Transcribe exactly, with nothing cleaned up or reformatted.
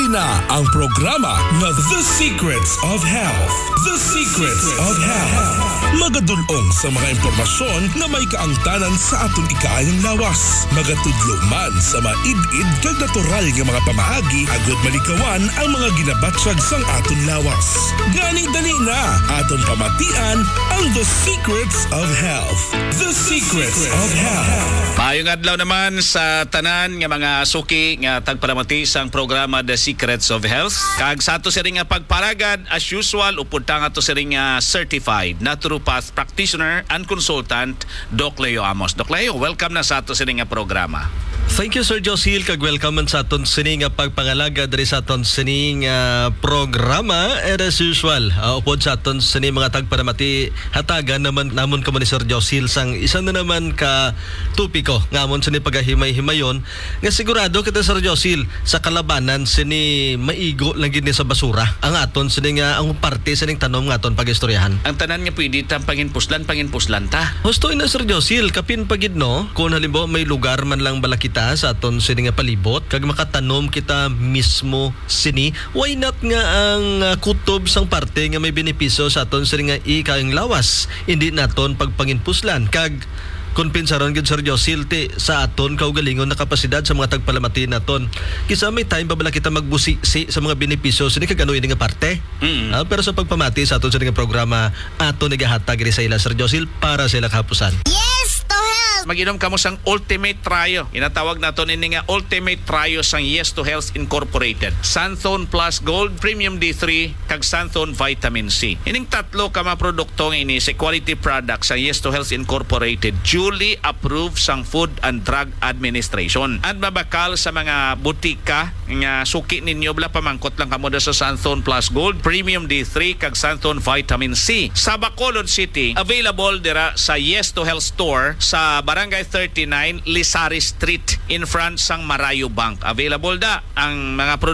Na ang programa nga The Secrets of Health. The Secrets of Health. Magadulong sa mga impormasyon nga may kaangtanan sa aton ikaayong lawas. Magatudlo man sa maid-id kag natural nga mga pamaagi agud malikawan ang mga ginabatyag sang aton lawas. Gani dali na, aton pamatian ang The Secrets of Health. The Secrets of Health. Maayong adlaw naman sa tanan nga mga suki nga tagpalamati sang programa The Secrets of Health. Kag sa ato siring nga pagparagad, as usual, upod ta nga ato siring nga certified naturopath practitioner and consultant, Doc Leo Amos. Doc Leo, welcome na sa ato siring nga programa. Thank you, Sir Josil, kag welcome man sa aton sini nga pagpangalagad diri sa aton sini nga programa. And as usual, ah, upod sa aton sini mga tagpalamati, hatagan naman namon kamo ni Sir Josil sang isa na naman ka topiko nga amon sini pagahimay-himayon, nga sigurado kita, Sir Josil, sa kalabanan sini maigo lang gid ni sa basura ang aton sini nga ang parte sining tanom nga aton pag-istoryahan. Ang tanan nga pwede ta panginpuslan, panginpuslan ta. Husto ina, Sir Josil, kapin pa gid, no? Kung halimbawa may lugar man lang bala kita sa aton sini nga palibot, kag makatanom kita mismo sini, why not nga ang, ah, kutob sang parte nga may benepisyo sa aton sini nga ikaayong lawas, indi naton pagpanginpuslan kag kompensaron gid, Sir Josil, ti sa aton kaugalingon na kapasidad sa mga tagpalamati naton. Kisa may time pa bala kita magbusisi sa mga benepisyo sini kag ano ini nga parte? Mm. Ah, pero sa pagpamati sa aton sini nga programa, aton igahatag ini sa ila, Sir Josil, para sa ila kahapusan. Yes to health! Mag-inom kamo sang Ultimate Trio. Ginatawag naton ini nga Ultimate Trio sang Yes to Health Incorporated. Xanthone Plus Gold, Premium D three, kag Xanthone Vitamin C. Ining tatlo ka mga produkto nga ini sa quality product sa Yes to Health Incorporated, duly approved sang Food and Drug Administration. And mabakal sa mga butika nga suki ninyo, bala pamangkot lang kamo da sa Xanthone Plus Gold, Premium D three, kag Xanthone Vitamin C. Sa Bacolod City, available dira sa Yes to Health Store sa Barangay thirty-nine, Lizares Street, in front sang Marayo Bank. Available da ang mga produkto